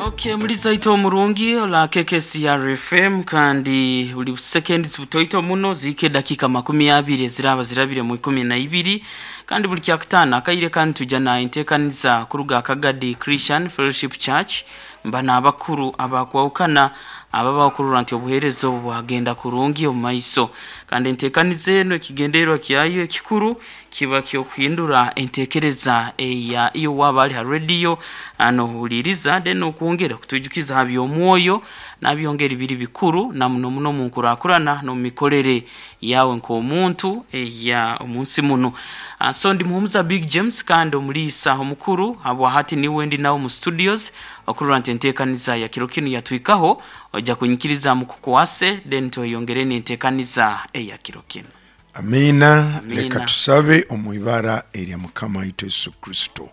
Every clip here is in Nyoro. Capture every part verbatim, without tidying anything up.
Okay, muliza ito omurungi ola K K C R F M, kandi buli sekendi zibutoito muno zike dakika makumi abiri eziraba zirabire mu ikumi na ibiri. Kandi buli kyakutaano akaire kandi tujja na enteekaniza kuruga Akagadi Christian Fellowship Church, mba n'abakuru abakwawukana ababakurura nti obuheereza obu bwagenda kurungi omu maiso. Kandi enteekaniza eno, ekigendererwa kyayo ekikuru kiba kyokuhindura enteekereza eya iyo waba ali ha radio nohuliiriza, then okwongera kutujukiza ha by'omwoyo nabyongera biri bikuru na muno muno mu nkurakurana n'omu mikorere yawe nk'omuntu eya omunsi muno. Ah, so ndi Muhumuza Big James, kandi omuliisa omukuru habwa hati niwe ndi nawe mu studios okurora nti enteekaniza ya kiro kinu yatwikaho. Ojja kunyikiriza mukukwase, then tweyongere n'enteekaniza eya kiro kinu. Amiina. Amiina. Leka tusabe omu ibara erya Mukama waitu Yesu Kristo.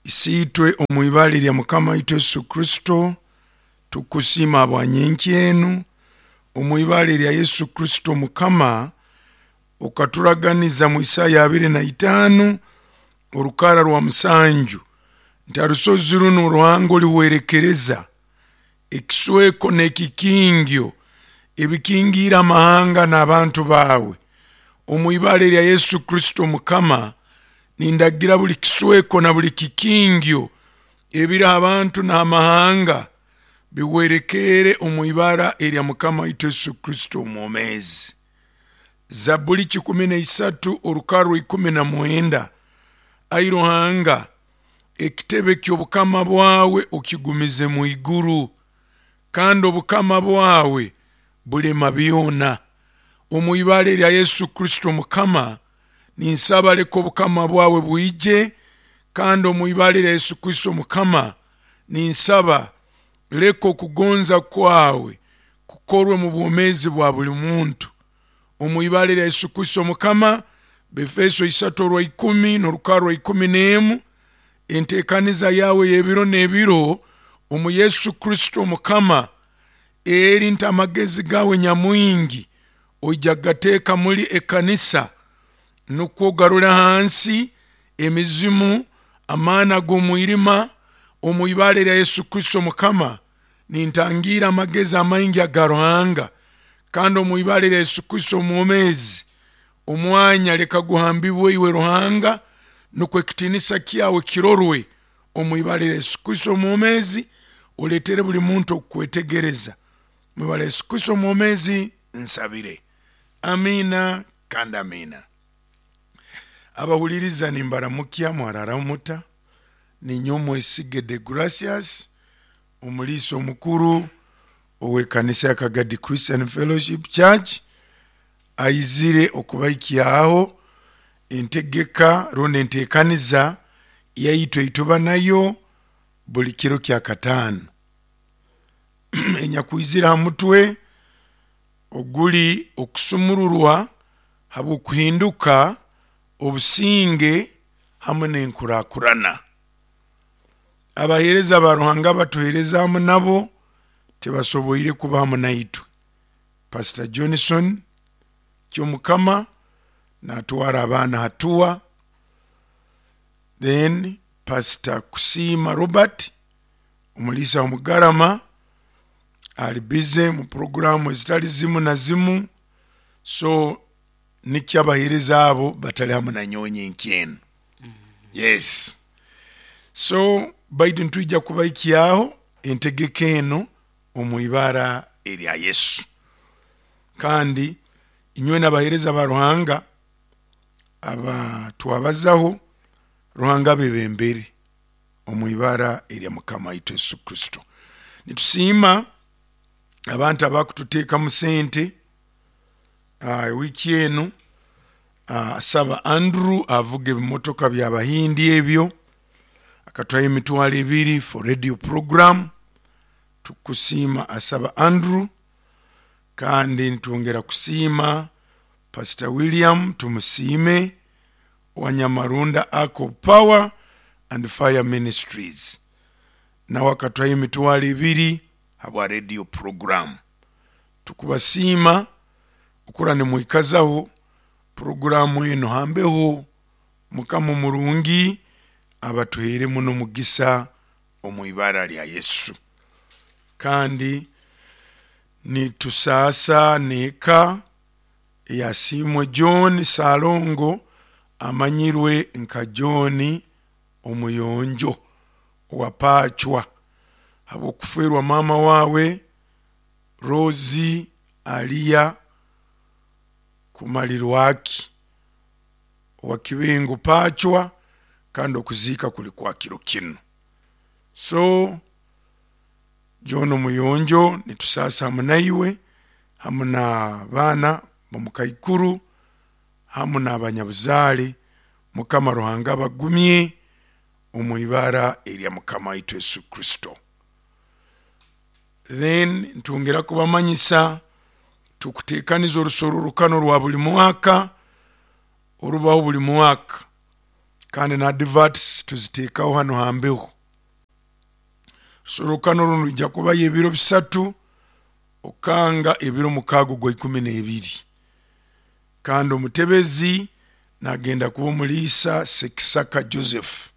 Isiitwe, omu ibara erya Mukama waitu Yesu Kristo, tukusiima habwanyenkya enu. Omu ibara erya Yesu Kristo Mukama, okaturaganiza mu Isaya abiri na itaano orukara rwa musanju nti arusozi runo Ruhanga olihwerekereza ekisweko n'ekikingyo ebikingiire amahanga n'abantu baawe. Omu ibara erya Yesu Kristo Mukama, nindagira buli kisweko na buli kikingyo ebiri abantu n'amahanga bihwerekere omu ibara erya Mukama waitu Yesu Kristo omwomeezi. Zabuli kikumi na isatu orukara ikumi na mwenda: ai Ruhanga, ekitebe ky'obukama bwawe okigumize mu iguru, kandi obukama bwawe bulema byona. Omu ibara erya Yesu Kristo Mukama, ninsaba leka obukama bwawe bwije, kandi omu ibara erya Yesu Kristo Mukama, ninsaba leka okugonza kwawe kukorwe mu bwomeezi bwa buli muntu. Omu ibara erya Yesu Kristo Mukama, Befeso isatu orwa ikumi n'orukara rwa ikumi n'emu, enteekaniza yawe y'ebiro n'ebiro omu Yesu Kristo Mukama eri nti amagezi gawe nyamwingi oija gateeka muli ekanisa, nukwo ogarule hansi emizimu, amaani ag'omwirima. Omu ibara erya Yesu Kristo Mukama, nintangiira amagezi amaingi aga Ruhanga, kandi omu ibara erya Yesu Kristo omwomeezi, omwanya leka guhambibwe iwe Ruhanga, nukwo ekitiinisa kyawe kirorwe. Omu ibara erya Yesu Kristo omwomeezi, oleetere buli muntu okukwetegereza. Mu ibara Yesu Kristo omwomeezi nsabire, amiina kandi amiina. Abahuliriza, nimbaramukya, mwararaho muta? Ninye Omwesige de Gracias, omuliisa omukuru ow'ekanisa ya Kagadi Christian Fellowship Church, aizire okubaikyaho entegeka rundi enteekaniza yaitu eituba nayo buli kiro kya kataano, enyakwizire ha mutwe oguli okusumururwa habw'okuhinduka, obusinge hamwe n'enkurakurana. Abaheereza ba Ruhanga batuheereza hamu nabo tibasoboire kuba hamu naitwe. Pastor Johnson Kyomukama natwara abaana hatua, then Pastor Kusiima Robert, omuliisa wa Mugarama, ali busy mu programu ezitali zimu na zimu, so nikyo abaheereza abo batali hamu nanyowe nyenkyeno. Yes, so baitu nitwija kubaikyaho entegeka eno omu ibara erya Yesu. Kandi inywe n'abaheereza ba Ruhanga aba twabazaho, Ruhanga bebembere omu ibara erya Mukama waitu Yesu Kristo. Nitusiima abantu abakututeekamu sente uh, wiiki enu. uh, asaba Andrew avuga ebimotoka byabahindi ebyo, akatwayo emitwalo ebiri for radio program. Tukusiima, Asaba Andrew. Kandi nitwongera kusiima Pastor William Tumusiime wa Nyamarunda Ark of Power and Fire Ministries, nawe akatwayo emitwalo ebiri habwa radio program. Tukubasiima okura nimwikazaho puroguramu eno hambeho. Mukama omurungi abatuheere muno omugisa. Omu ibara lya Yesu. Kandi nitusaasa n'eka eyasiimwe John Salongo, amanyirwe nka John Omuyonjo owa Pacwa, habw'okufeerwa maama waawe Rosi Aliya Kumalirwaki owa Kibengo Pacwa, kandi okuziika kuli kwa kiro kinu. So John Omuyonjo, nitusaasa hamu naiwe hamu n'abaana bomukaikuru hamu n'abanyabuzaale. Mukama Ruhanga abagumye omu ibara erya Mukama waitu Yesu Kristo. Then ntwongera kubamanyisa tukuteekaniza orusorrokano rwa buli mwaka orubaho buli mwaka, kandi na adverts tuziteekaho hano hambeho. Rusorrokano runu rwijja kubayo ebiro bisatu okanga ebiro mukaaga ogwa ikumi n'ebiri, kandi omutebezi nagenda kuba omuliisa Sekisaka Joseph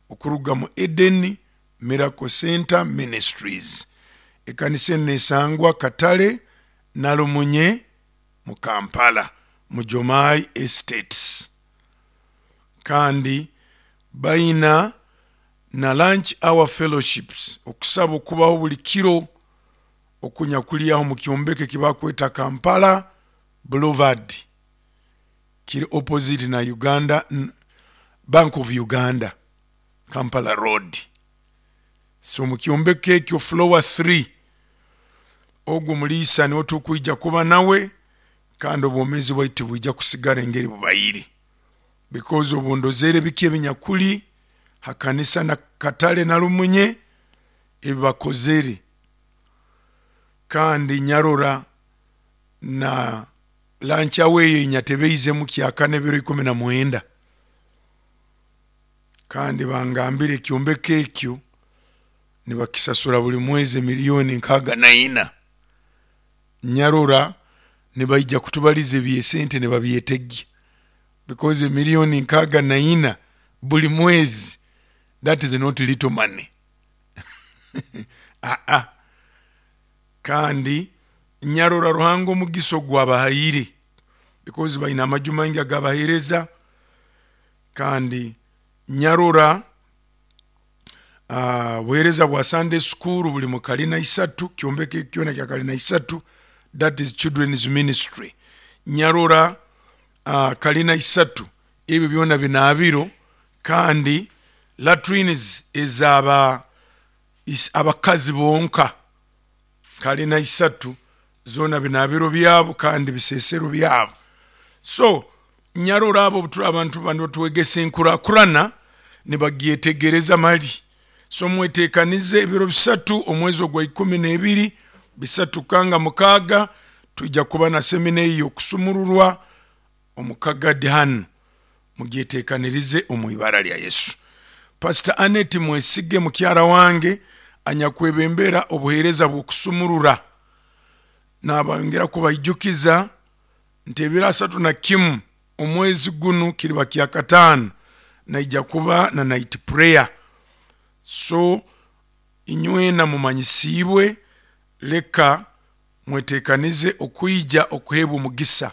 okuruga mu Eden Miracle Center Ministries. Ekanisa enu nesangwa Katale Nalumunye mu Kampala mu Jomai Estates. Kandi baina na lunch hour fellowships, okusaba okubaho buli kiro okunyakulyaho mu kyombeko ekibakweta Kampala Boulevard, kiri opposite na Uganda Bank of Uganda, Kampala Road. So mu kyombeko ekyo floor three, ogwo muliisa niwe tukwija kuba nawe, kandi obwomeezi bwaitu tibwija kusigara engeri bubaire, because obundozere biki ebinyakuli hakanisa na Katale Nalumunye ebibakozere. Kandi nyarora na lunch hour eyo enyatebeizemu kyakana ebiro ikumi na mwenda, kandi bangambire ekyombeko ekyo nibakisasura buli mwezi miliyoni nkaaga na ina. Nyarora nibaija kutubaliza ebyesente nibabyetegya, because emiliyoni nkaaga na ina buli mwezi, that is not little money. Aa, kandi nyarora Ruhanga omugisa ogwabahaire, because baina amaju maingi agabahereza. Kandi nyarora uh, buhereza bwa Sunday school buli mu kalina isatu, kyombeko kyona kya kalina isatu, that is children's ministry. Nyarora uh, kalina isatu ebyo byona binabiro, kandi latrines ezaba abakazi bonka kalina isatu zona binabiro byabo kandi bisesero byabo. So nyarora abo abantu bano twegesa enkurakurana nibagyetegereza mali. So mwetekanize ebiro bisatu omwezi ogwa ikumi n'ebiri bisatu kanga mukaaga tujja kuba na semina eyo okusumururwa omukagadi hano, mugyetekanirize omu ibara lya Yesu. Pastor Annette Mwesige mukyara wange anyakwebembera obuheereza bw'okusumurura, nabongera kubaijukiza nti ebiro asatu na kimu omwezi gunu kiriba kya kataano naija kuba na night prayer. So inywena mumanyisiibwe, leka mwetekanize okwija okuheebwa omugisa,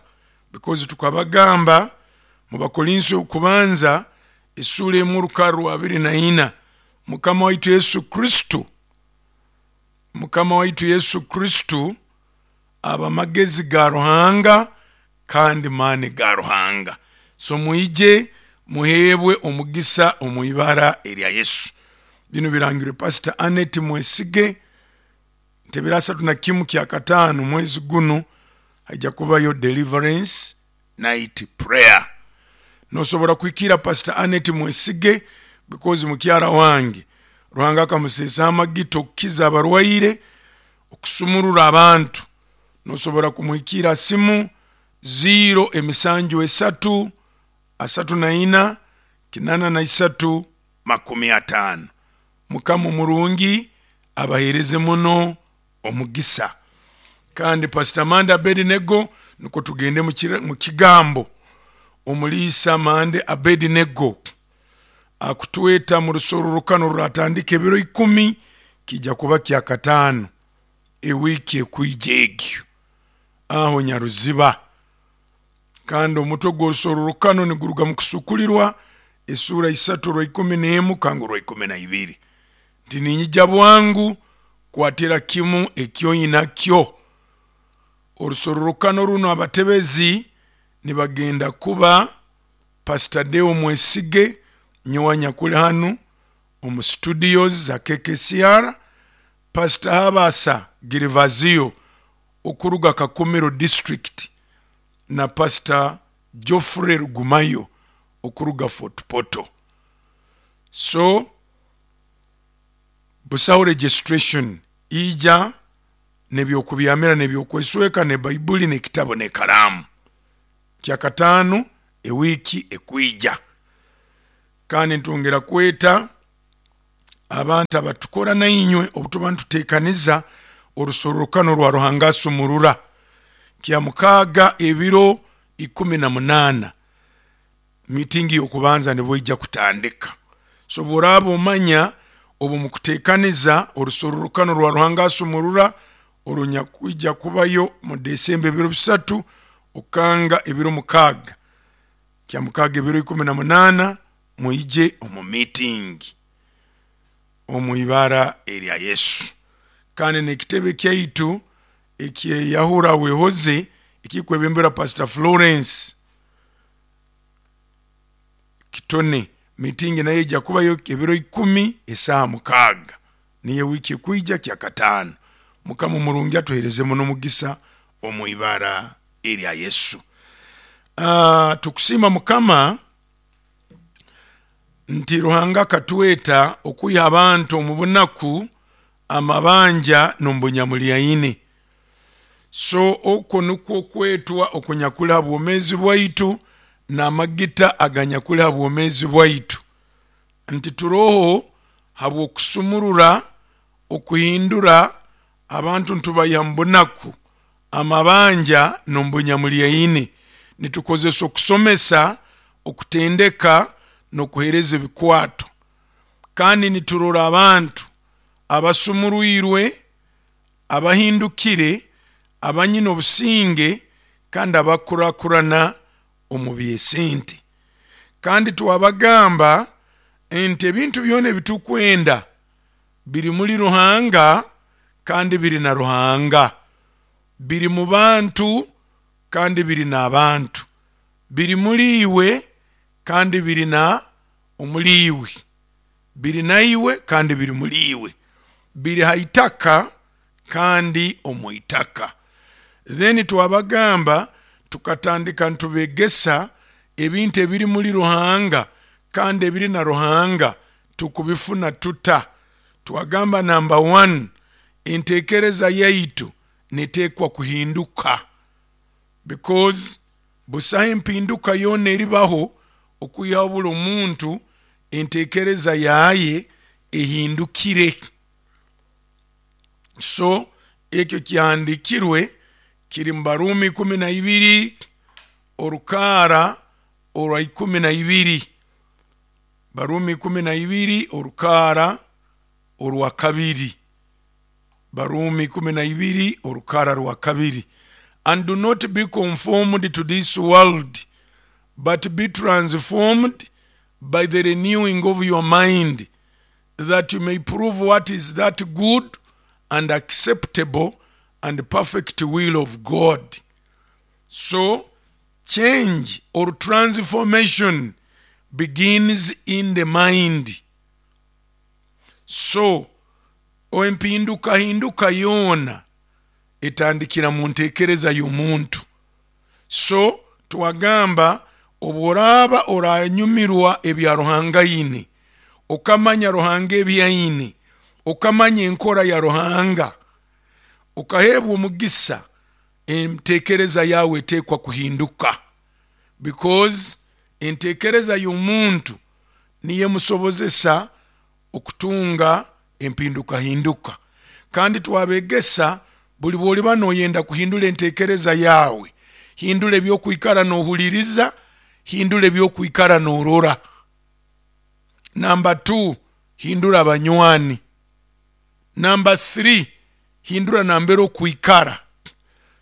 because tukabagamba mu Bakorinso okubanza essuula emu orukarra rwa abiri na ina, Mukama waitu Yesu Kristo, Mukama waitu Yesu Kristo aba magezi ga Ruhanga kandi maani ga Ruhanga. So mwije muheebwe omugisa omu ibara erya Yesu. Bino birangirwe Pastor Annette Mwesige nti ebiro asatu na kimu kya kataano mwezi gunu haija kubayo deliverance night prayer. Nosobora kuhikira Pastor Annette Mwesige because mukyara wange Ruhanga akamuseesa amagita okukiza abarwaire, okusumurura abantu. Nosobora kumuhikira simu ziro emisanju esatu asatu na ina kinana na isatu makumi ataano. Mukama omurungi abahereze muno omugisa. Kandi Pastor Mande Abednego, niko tugende mu kigambo. Omuliisa Mande Abednego Akutweta mu rusororokano ruratandika ebiro ikumi, kijja kuba kyakataano ewiiki ekwija egyo aho Nyaruziba. Kandi omutwe gw'orusororokano niguruga mu Kusukulirwa esura isatu orwa ikumi n'emu kangu orwa ikumi na ibiri, nti ninyija bwangu, kwatira kimu ekyoinakyo. Orusororokano runo abatebezi nibagenda kuba Pastor Deo Mwesige, nyowe nyakuli hanu omu studios za K K C R, Pastor Habasa Girivazio okuruga Kakumiro district, na Pastor Geoffrey Rugumayo okuruga Fort Portal. So busaho registration ija nebyokubyamira nebyokwesweka ne Baibuli nekitabo nekaramu. Kyakataano ewiki ekwija. Kandi ntwongera kweta abantu abatukora nainywe obutuba ntutekaniza orusororokano rwa Ruhanga asumurura kya mukaaga ebiro ikumi na munaana, mitingi y'okubanza nibwo ijja kutandika. So bw'oraaba omanya obu mukutekaniza orusororokano rwa Ruhanga asumurura orunyakwija kubayo mu Desemba ebiro bisatu okanga ebiro mukaaga, kya mukaaga ebiro ikumi na munaana, mwije omu meeting omu ibara erya Yesu. Kandi n'ekitebe kyaitu ekyeyahura wehoze ekikwebembera Pastor Florence Kitone, meeting nayo ijja kubayo ebiro ikumi esaaha mukaaga, niyo wiiki ekwija kyakataano. Mukama omurungi atuhereze muno omugisa omu ibara erya Yesu. Uh, tukusiima Mukama nti Ruhanga akatweta okwiha abantu omu bunaku, amabanja n'omubunyamulyaine. So okwo nikwo okwetwa okunyakuli ha bwomezi bwaitu n'amagita aganyakuli ha bwomezi bwaitu, nti turoho habw'okusumurura, okuhindura abantu ntubaiha mu bunaku, amabanja n'omubunyamulyaine. Nitukozesa okusomesa, okutendeka n'okuhereza ebikwato. Kandi niturora abantu abasumurwirwe, abahindukire, abanyine obusinge, kandi abakurakurana omu byesente. Kandi twabagamba nti ebintu byona ebitukwenda biri muri Ruhanga kandi biri na Ruhanga, biri mu bantu kandi biri n'abantu, biri muri iwe kandi biri na omuri iwe, biri na iwe kandi biri muri iwe, biri ha itaka kandi omu itaka. Then twabagamba tukatandika ntubegesa ebintu ebiri muri Ruhanga kandi ebiri na Ruhanga tukubifuna tuta. Twagamba number one, entekereza yaitu netekwa kuhinduka, because busaho empinduka yona eribaho okwihaho buli omuntu entekereza yaye ehindukire. So ekyo kyahandikirwe kiri mu Barumi ikumi na ibiri orukaara orwa ikumi na ibiri, Barumi ikumi na ibiri orukaara orwa kabiri, Barumi ikumi na ibiri orukaara rwa kabiri. And do not be conformed to this world, but be transformed by the renewing of your mind, that you may prove what is that good and acceptable and perfect will of God. So change or transformation begins in the mind. So empinduka hinduka yona etandikira mu ntekereza y'omuntu. So twagamba obworaba oranyumirwa ebya Ruhanga ine, okamanya Ruhanga ebyaine, okamanya enkora ya Ruhanga, okahebwa omugisa, entekereza yawe etekwa kuhinduka, because entekereza y'omuntu niyo emusobozesa okutunga empinduka hinduka. Kandi twabegesa buli bwoliba noyenda kuhindura entekereza yawe, hindura ebyokwikara nohuliriza, hindura ebyokwikara norora. Number two, hindura abanywani. Number three, hindura nambere okwikara.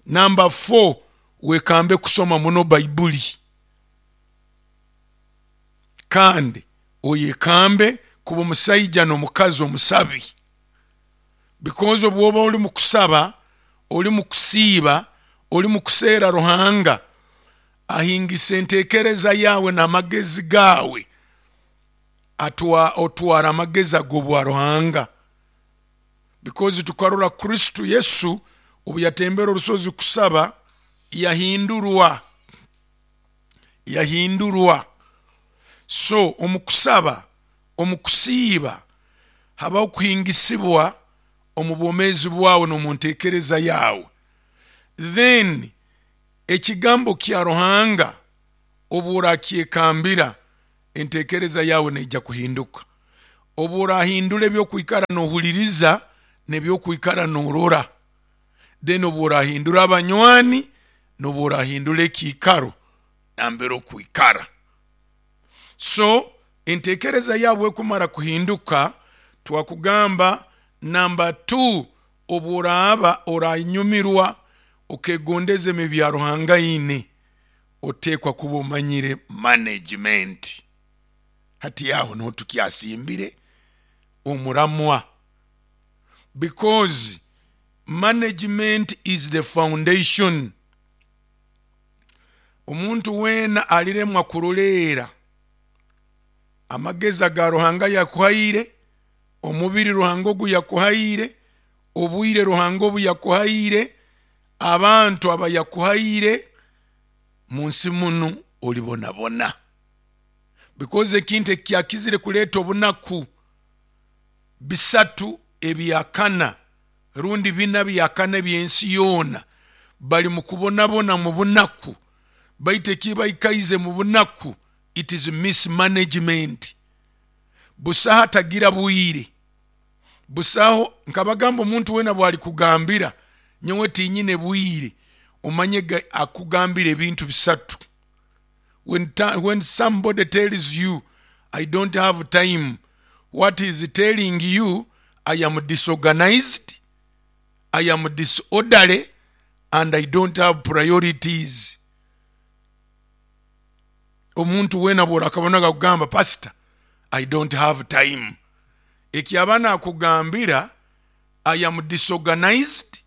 Number four, wekambe kusoma muno Baibuli, kandi oyekambe kuba omusaija n'omukazi omusabi, because obwoba oli mu kusaba, oli mu kusiiba, oli mu kuseera Ruhanga, ahingisa enteekereza yaawe n'amagezi gaawe, atwa otwara amagezi ag'obwa Ruhanga. Because tukarora Kristo Yesu obu yatembera orusozi kusaba, yahindurwa yahindurwa So omu kusaba, omu kusiiba, habaho kuhingisibwa omu bwomeezi bwawe n'omu nteekereza yaawe. Then ekigambo kya Ruhanga obu orakyekambira, enteekereza yawe neija kuhinduka, obu orahindura ebyokwikara nohuliriza n'ebyokwikara norora, then obu orahindura abanywani n'obu orahindura ekiikaro nambere okwikara. So enteekereza yawe ekumara kuhinduka, twakugamba number two, obu oraaba oranyumirwa okegondeza emi bya Ruhanga ine, oteekwa kuba omanyire management. Hati aho niho tukyasimbire omuramwa, because management is the foundation. Omuntu weena aliremwa kuroleera amagezi aga Ruhanga yakuhaire, omubiri Ruhanga ogu yakuhaire, obwire Ruhanga obu yakuhaire, abantu aba yakuhaire, munsi munu olibonabona, because ekintu ekyakizire kuleeta obunaku bisatu ebyakana rundi bina byakana ebyensi yoona, bali mu kubonabona mu bunaku, baitu ekibaikaize mu bunaku, it is mismanagement. Busaho atagira bwire, busaho. Nkabagamba, omuntu weena bwali kugambira nyowe tinyine bwire, omanye akugambira ebintu bisatu. when, when somebody tells you I don't have time, what is telling you, I am disorganized, I am disorderly, and I don't have priorities. Omuntu weena bworakabona kugamba, pastor, I don't have time, ekyaba nakugambira I am disorganized,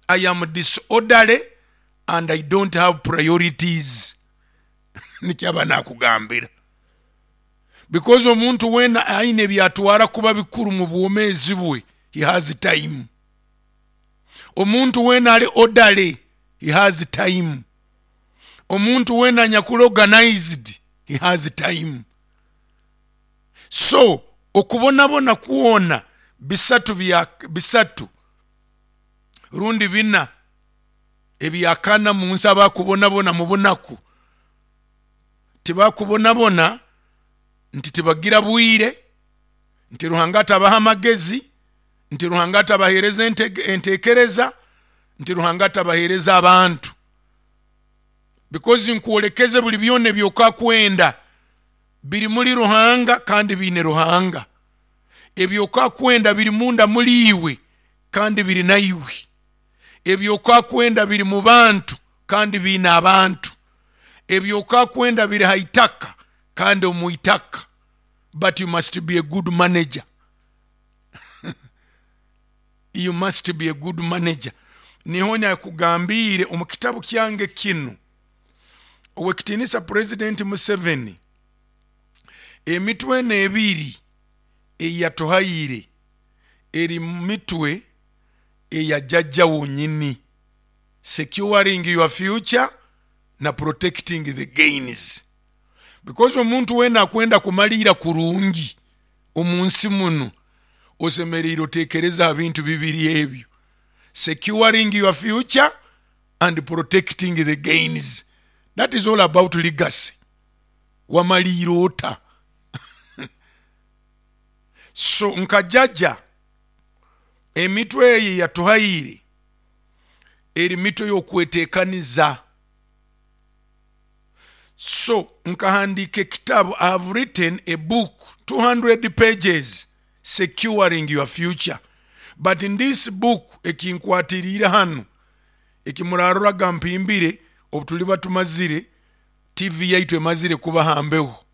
I am disorderly, and I don't have priorities, nikyaba nakugambira. Because omuntu weena aine ebyatwara kuba bikuru mu bwomeezi bwe, he has time. Omuntu weena ali orderly, he has time. Omuntu weena anyakuli organized, he has time. So okubonabona kwona bisatu bya bisatu rundi bina ebyakana mu nsi, abakubonabona mu bunaku tibakubonabona nti tibagira bwire, nti Ruhanga atabaha amagezi, nti Ruhanga atabahereza enteekereza, nti Ruhanga atabahereza abantu. Because nkwolekeze buli byona ebyokakwenda biri muri Ruhanga kandi biine Ruhanga. Ebyokakwenda biri munda muri iwe kandi biri naiwe. Ebyokakwenda biri mu bantu kandi biine abantu. Ebyokakwenda biri ha itaka kandi omu itaka. But you must be a good manager. You must be a good manager. Niho nyakugambiire omu kitabu kyange kinu, owekitiinisa President Museveni, emitwe eno ebiri eyatuhaire eri mitwe eya jjajja wonyini, securing your future na protecting the gains. Because omuntu weena akwenda kumaliira kurungi omu nsi muno, osemereire oteekereza ha bintu bibiri ebyo, securing your future and protecting the gains. That is all about legacy. Wamaliira ota? So nka jjajja, emitwe eyo yatuhaire eri mitwe y'okweteekaniza. So nkahandika ekitabu. I have written a book, two hundred pages, Securing Your Future. But in this book, ekinkwatiriire hanu ekimuraroraga mpimbire obu tuliba tumazire T V yaitu emazire kuba hambeho,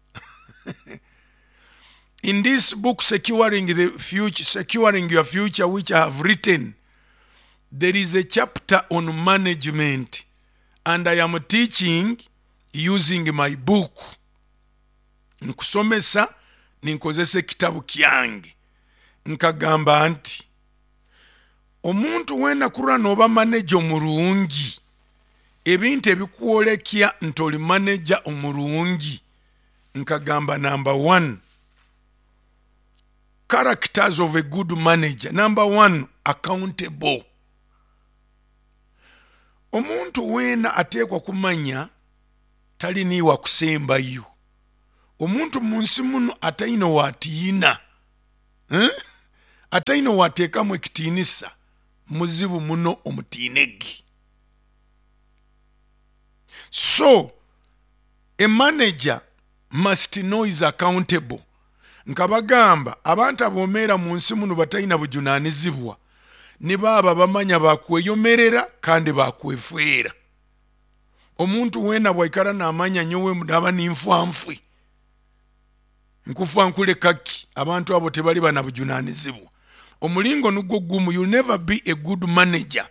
in this book, securing the future securing Your Future, which I have written, there is a chapter on management, and I am teaching using my book. Nkusomesa ninkozesa ekitabu kyange. Nkagamba nti omuntu wena kurora noba manager omurungi, ebintu ebikwolekya nti oli manager omurungi, nkagamba number one, characters of a good manager. Number one, accountable. Omuntu weena ateekwa kumanya tali niiwe akusembayo. Omuntu mu nsi muno ataine watiina, eh? Ataine wateekamu ekitiinisa, muzibu muno omutiinegi. So a manager must know is accountable. Nkabagamba abantu abomeera mu nsi muno batalina bujunaanizibwa ni baaba bamanya bakweyomerera kandi bakwefeera. Omuntu weena bwaikara namanya nyowe naba ninfanfwe nkufa nkulekaki, abantu abo tebali bana bujunanizibwa. Omulingo nugwo gumu, you'll never be a good manager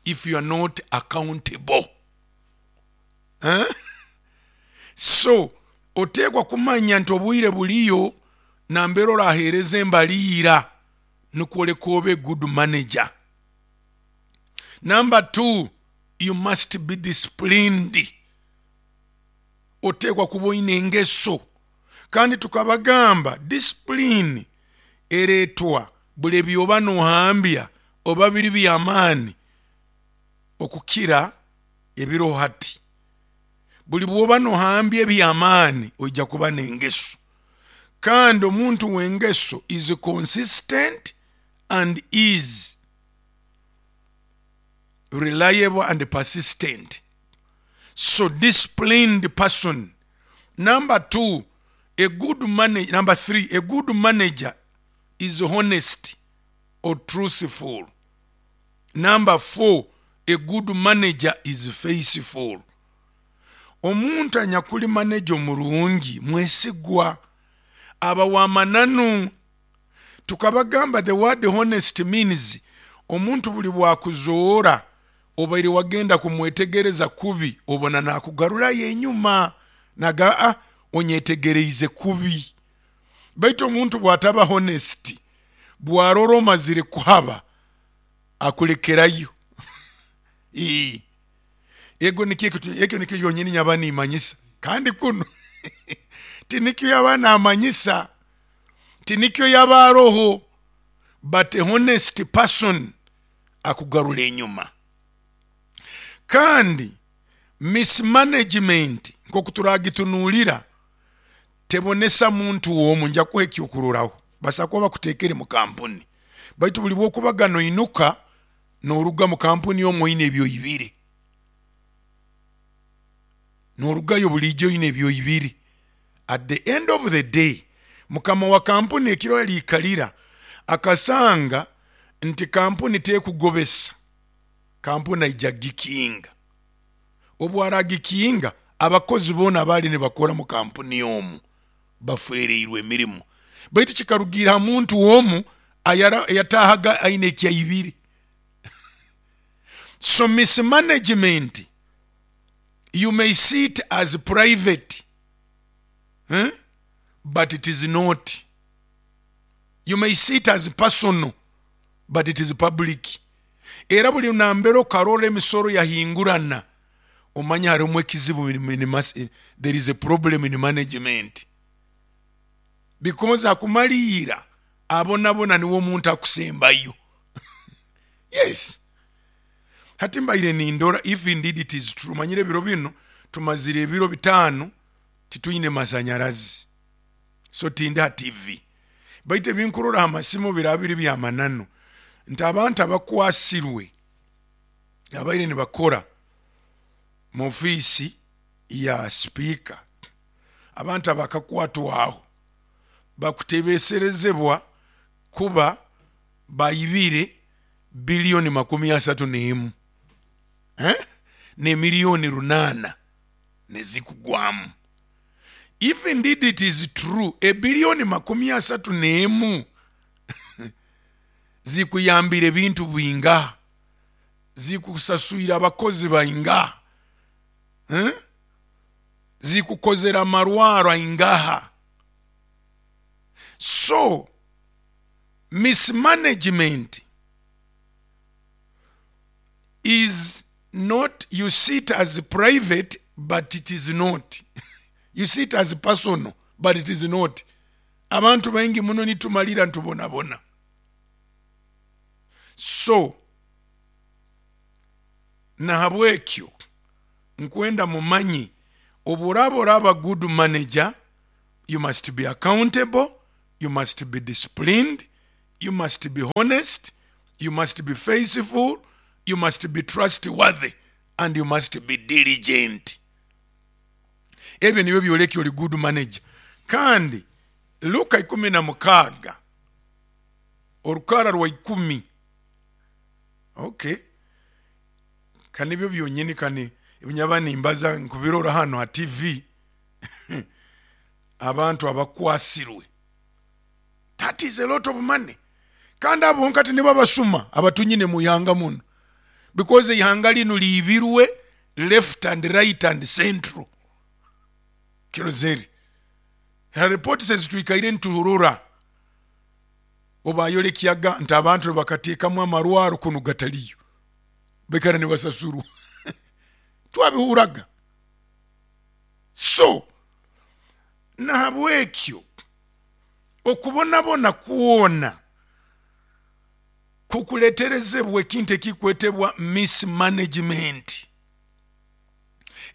if you are not accountable, eh? So oteekwa kumanya nti obwire buliyo nambere oraheereza embaliira nukwoleka obe good manager. Number two, you must be disciplined. Oteekwa kuba oyina engeso. Kandi tukabagamba discipline ereetwa buli byoba nohambya oba biri byamaani okukira ebiro hati. Buli bwoba nohambya ebyamaani oija kuba n'engeso. Kandi omuntu w'engeso is consistent and is reliable and persistent. So disciplined person, number two. A good manager, number three, a good manager is honest or truthful. Number four, a good manager is faithful. Omuntu anyakuli manager omurungi mwesigwa, aba wamananu. Tukabagamba the word honest means omuntu buli bwakuzoora obaire wagenda kumwetegereza kubi, obona nakugarurayo enyuma naga a onyetegereize kubi. Baitu omuntu bwataba honest, bwarora omazire kuhaba, akulekerayo. Ego nikyo ekyo nikyo kyonyini nyaba nimanyisa. Kandi kuno tinikyo yaba namanyisa, tinikyo yaba aroho. But a honest person akugarura enyuma. Kandi mismanagement nkoku turagitunuulira tebonesa muntu womu. Nja kuha ekyokururaho. Basa kuba bakutekere mu kampuni, baitu buli bwokubaga noinuka noruga mu kampuni omwo oyine ebyoibire, norugayo bulijjo oyine ebyoibire. At the end of the day, mukama wa kampuni ekiro aliikalira akasanga nti kampuni tekugobesa, kampuni aija gikinga. Obu aragikinga, abakozi boona baali nibakora mu kampuni omu bafereirwe emirimu. Baitu kikarugira ha muntu omu ayatahaga aine ekyaibire. So mismanagement, you may see it as private, eh? But it is not. You may see it as personal, but it is public. Era buli nambere okarora emisoro yahingurana, omanya harimu ekizibu. There is a problem in management, because akumaliira abonabona niwe omuntu akusembayo. Yes, hati mbaire nindora, if indeed it is true, manyire ebiro bino tumazire ebiro bitaano titwine masanyarazi, so tindi ha T V. Baitu ebinkurora ha masimu biraba biri byamananu nti abantu abakwasirwe abaire nibakora mu ofiisi Ya sipiika, abantu abakakwatwaho bakutebeserezebwa kuba baibire biliyoni makumi asatu n'emu, eh? Nemiliyoni runana nezikugwamu. If indeed it is true, ebiliyoni makumi asatu n'emu zikuyambira ebintu bwinga, zikusaswira abakozi bainga, eh? Zikukozera amarwaro aingaha. So mismanagement is not, you see it as private, but it is not. You see it as personal, but it is not. Abantu baingi muno nitumalira ntubonabona. So nahabwekyo nkwenda mumanyi, oburaba oraba good manager, you must be accountable, you must be disciplined, you must be honest, you must be faithful, you must be trustworthy, and you must be diligent. Ebyo nibyo byoleka oli good manager. Kandi Luka ikumi na mukaaga orukara rwa ikumi. Okay, kanibyo byonyini, kani ebinyaba nimbaza nkubirora hano ha T V, abantu abakwasirwe. That is a lot of money. Kandi abo nkati nibo abasuma abatunyine mu ihanga muno, because ihanga lino liibirwe left and right and central. Kirozeri report says twikaire ntuhurura obayolekyaga nti abantu bakateekamu amarwaro kunu gataliyo, baikara nibasasurwa. Twabihuraga. So nahabwekyo okubonabona kwona kukuleterezebwa ekintu ekikwetebwa mismanagement.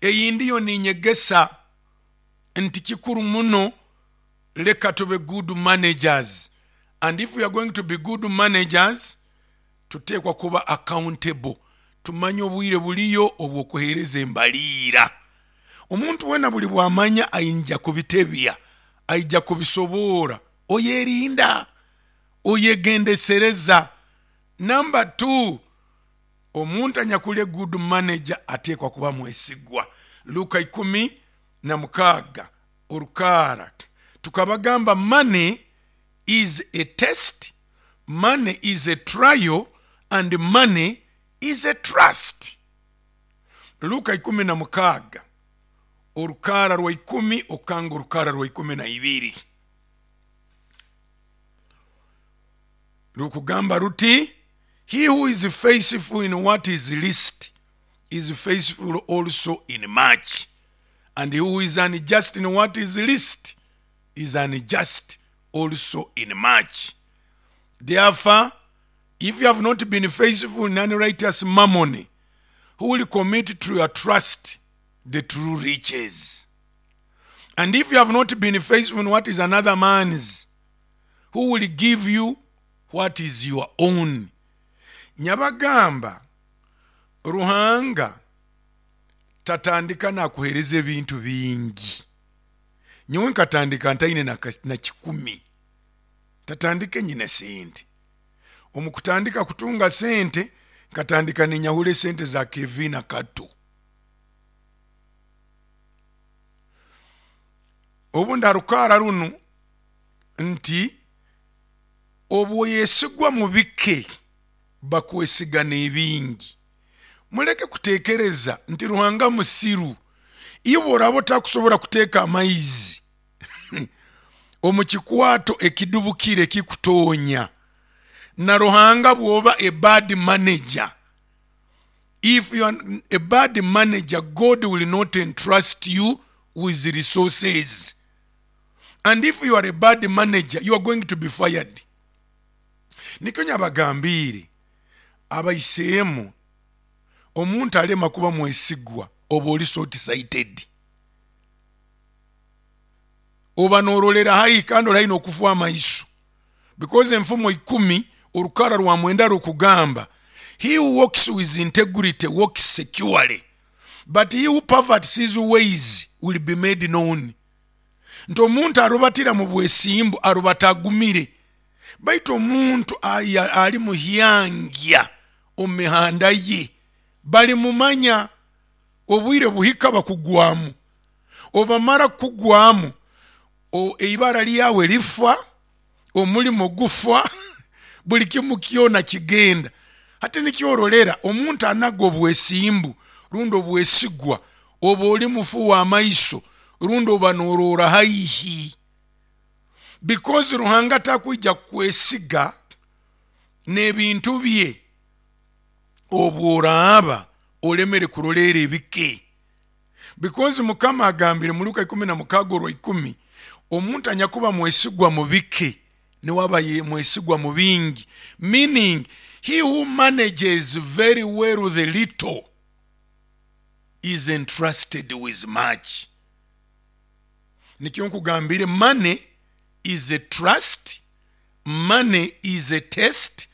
Eyindi yo ninyegesa nti kikuru muno, leka tube good managers. And if we are going to be good managers, tuteekwa kuba accountable, tumanye obwire buliyo obwokuheereza embaliira. Omuntu wena buli bwamanya ayinja kubitebya, aija kubisoboora, oyerinda, oyegendesereza. Number two, omuntu anyakuli good manager ateekwa kuba mwesigwa. Luka ikumi na mukaaga orukara tukabagamba, money is a test, money is a trial, and money is a trust. Luka ikumi na mukaaga orukara rwa ikumi okanga orukara rwa ikumi na ibiri rukugamba ruti, he who is faithful in what is least is faithful also in much, and he who is unjust in what is least is unjust also in much. Therefore, if you have not been faithful in unrighteous mammon, who will commit to your trust the true riches? And if you have not been faithful in what is another man's, who will give you what is your own? Nyabagamba, Ruhanga tatandika nakuhereza ebintu bingi. Nyowe nkatandika ntaine na, na kikumi, tatandike nyine sente. Omukutandika kutunga sente, nkatandika ninyahule sente za Kevin Kato. Obu ndarukara runo nti obwoyesigwa mu bike bakwesiga n'ebingi. Muleke kutekereza nti Ruhanga musiru. Iwe oraba otakusobora kuteeka amaizi omu kikwato ekidubukire kikutonya, na Ruhanga bwoba a bad manager, if you are a bad manager, God will not entrust you with resources. And if you are a bad manager, you are going to be fired. Nikyo nyabagambire abaisemu, omuntu alema kuba mwesigwa oba oli short sighted, oba norolera hayi kandi olayi nokufa amaiso, because enfumo ikumi orukara rwa mwenda rukugamba, he who walks with integrity walks securely, But he who perverts his ways will be made known. Nti omuntu arubatira mu bwesimbu arubata agumire, baitu omuntu aya- ali muhyangya omu mihanda ye bali mumanya. Obwire buhika bakugwamu, obamara kukugwamu, o- eibara lyawe lifa, omulimo gufa, buli kimu kyona kigenda. Hati nikyorolera omuntu anaga obwesimbu rundi obwesigwa, oba oli mufu w'amaiso rundi oba norora haihi, because Ruhanga takwija kukwesiga n'ebintu bye obworaaba olemere kuroleera ebike, because Mukama agambire mu Luka ikumi na mukaaga orwa ikumi, omuntu anyakuba mwesigwa mu bike niwe ye mwesigwa mu bingi, meaning he who manages very well the little is entrusted with much. Nikyo nkugambire, money is a trust, money is a test.